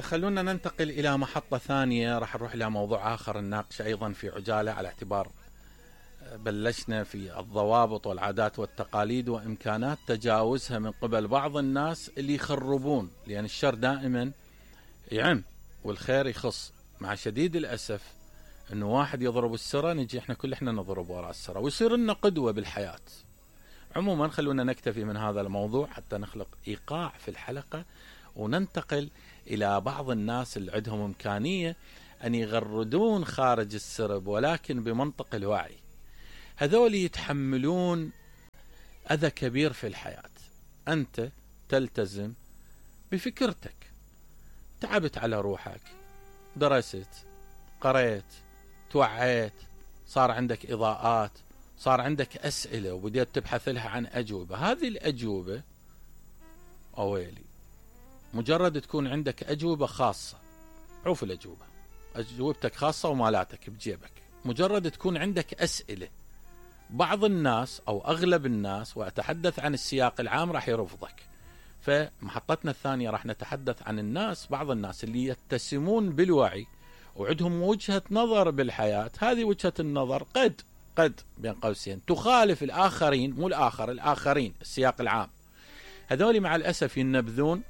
خلونا ننتقل إلى محطة ثانية، راح نروح إلى موضوع آخر نناقشه أيضا في عجالة، على اعتبار بلشنا في الضوابط والعادات والتقاليد وإمكانات تجاوزها من قبل بعض الناس اللي يخربون، لأن الشر دائما يعم والخير يخص. مع شديد الأسف أنه واحد يضرب السرة نجي إحنا نضرب وراء السرة ويصير لنا قدوة بالحياة. عموما خلونا نكتفي من هذا الموضوع حتى نخلق إيقاع في الحلقة، وننتقل إلى بعض الناس اللي عندهم إمكانية أن يغردون خارج السرب ولكن بمنطق الوعي. هذول يتحملون أذى كبير في الحياة. أنت تلتزم بفكرتك، تعبت على روحك، درست، قريت، توعيت، صار عندك إضاءات، صار عندك أسئلة وبدأت تبحث لها عن أجوبة. هذه الأجوبة أويلي مجرد تكون عندك أجوبة خاصة، عوف الأجوبة، أجوبتك خاصة ومالاتك بجيبك، مجرد تكون عندك أسئلة. بعض الناس أو أغلب الناس، وأتحدث عن السياق العام، راح يرفضك. فمحطتنا الثانية راح نتحدث عن الناس، بعض الناس اللي يتسمون بالوعي وعندهم وجهة نظر بالحياة. هذه وجهة النظر قد بين قوسين تخالف الآخرين، مو الآخرين السياق العام. هذول مع الأسف ينبذون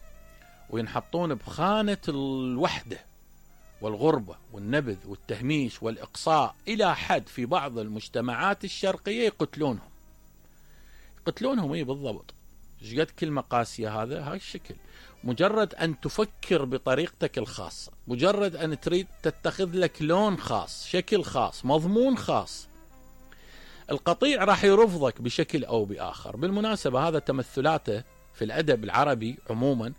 وينحطون بخانة الوحدة والغربة والنبذ والتهميش والإقصاء، إلى حد في بعض المجتمعات الشرقية يقتلونهم. إيه بالضبط، ايش قد كلمة قاسية هاي الشكل. مجرد أن تفكر بطريقتك الخاصة، مجرد أن تريد تتخذ لك لون خاص، شكل خاص، مضمون خاص، القطيع راح يرفضك بشكل أو بآخر. بالمناسبة هذا تمثلاته في الأدب العربي عموما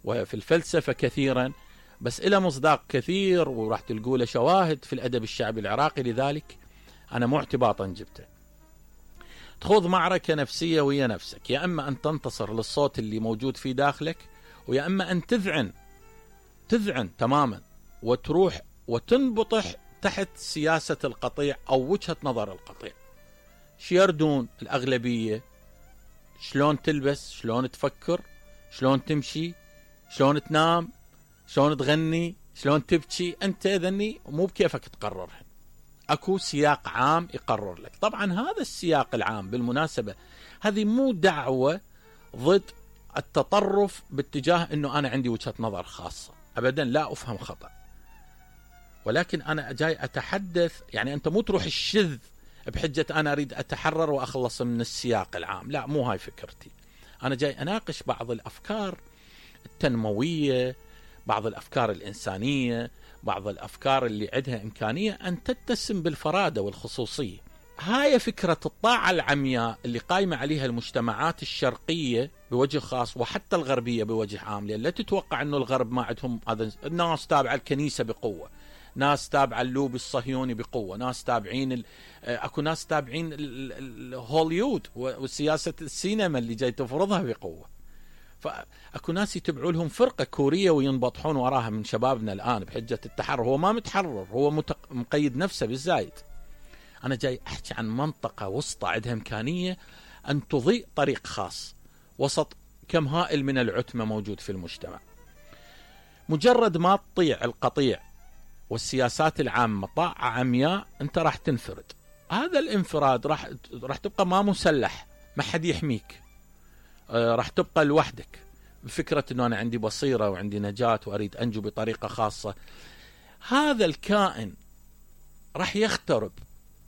وفي الفلسفة كثيرا، بس إلى مصداق كثير وراح تلقوا له شواهد في الأدب الشعبي العراقي. لذلك أنا مو اعتباطا جبته. تخوض معركة نفسية ويا نفسك، يا أما أن تنتصر للصوت اللي موجود في داخلك، ويا أما أن تذعن تماما وتروح وتنبطح تحت سياسة القطيع أو وجهة نظر القطيع. شيردون الأغلبية، شلون تلبس، شلون تفكر، شلون تمشي، شلون تنام، شلون تغني، شلون تبكي، أنت ذني مو بكيفك تقررها، أكو سياق عام يقرر لك. طبعا هذا السياق العام بالمناسبة هذه مو دعوة ضد التطرف باتجاه أنه أنا عندي وجهة نظر خاصة، أبدا لا أفهم خطأ، ولكن أنا جاي أتحدث، يعني أنت مو تروح الشذ بحجة أنا أريد أتحرر وأخلص من السياق العام، لا مو هاي فكرتي. أنا جاي أناقش بعض الأفكار التنموية، بعض الأفكار الإنسانية، بعض الأفكار اللي عندها إمكانية أن تتسم بالفرادة والخصوصية. هاي فكرة الطاعة العمياء اللي قايمة عليها المجتمعات الشرقية بوجه خاص وحتى الغربية بوجه عام، لأن لا تتوقع أنه الغرب ما عندهم هذا. الناس تابعة الكنيسة بقوة، ناس تابعة اللوبي الصهيوني بقوة، ناس تابعين أكو ناس تابعين هوليود وسياسة السينما اللي جاي تفرضها بقوة. فأكو ناس يتبعوا لهم فرقة كورية وينبطحون وراها من شبابنا الآن بحجة التحرر. هو ما متحرر، هو مقيد نفسه بالزايد. أنا جاي أحكي عن منطقة وسطى عندها إمكانية أن تضيء طريق خاص وسط كم هائل من العتمة موجود في المجتمع. مجرد ما تطيع القطيع والسياسات العامة طاعة عمياء أنت راح تنفرد. هذا الانفراد راح تبقى ما مسلح، ما حد يحميك، راح تبقى لوحدك بفكرة أنه أنا عندي بصيرة وعندي نجاة وأريد أنجو بطريقة خاصة. هذا الكائن راح يخترب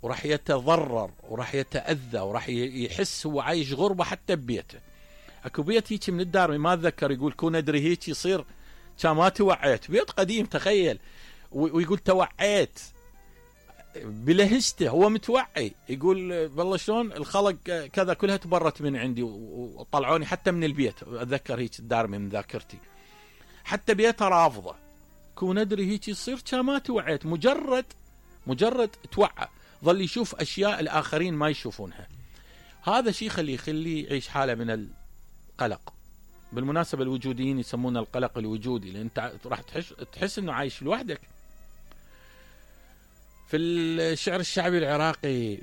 وراح يتضرر وراح يتأذى وراح يحس هو عايش غربة حتى ببيته. أكو بيت هيك من الدار ما أتذكر، يقول كون أدري هيك يصير ما توعيت، بيت قديم تخيل، ويقول توعيت بلهجته، هو متوعي، يقول والله شلون الخلق كذا كلها تبرت من عندي وطلعوني حتى من البيت. أتذكر هيك الدار من ذاكرتي، حتى بيتها رافضة. كون أدري هيك يصير ما توعيت، مجرد توعى ظل يشوف أشياء الآخرين ما يشوفونها. هذا شيء يخليه يعيش حالة من القلق. بالمناسبة الوجوديين يسمون القلق الوجودي، لأن أنت راح تحس أنه عايش لوحدك. في الشعر الشعبي العراقي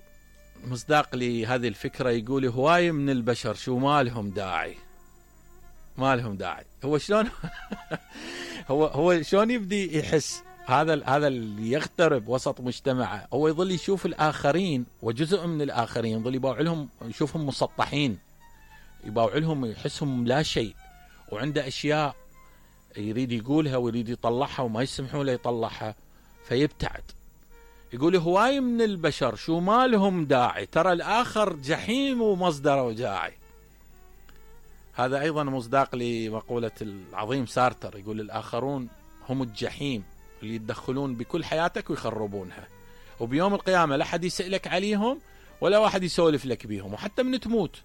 مصداق لهذه الفكرة يقول: هواي من البشر شو ما لهم داعي، ما لهم داعي. هو شلون هو شلون يبدي يحس هذا اللي يغترب وسط مجتمعه، هو يظل يشوف الآخرين وجزء من الآخرين يظل يباوع لهم، يشوفهم مسطحين، يباوع لهم، يحسهم لا شيء، وعنده أشياء يريد يقولها ويريد يطلعها وما يسمحوا له يطلعها، فيبتعد. يقول هواي من البشر شو ما لهم داعي، ترى الآخر جحيم ومصدره وجاعي. هذا أيضا مصداق لمقولة العظيم سارتر، يقول الآخرون هم الجحيم اللي يتدخلون بكل حياتك ويخربونها، وبيوم القيامة لا حد يسألك عليهم ولا واحد يسولف لك بيهم، وحتى من تموت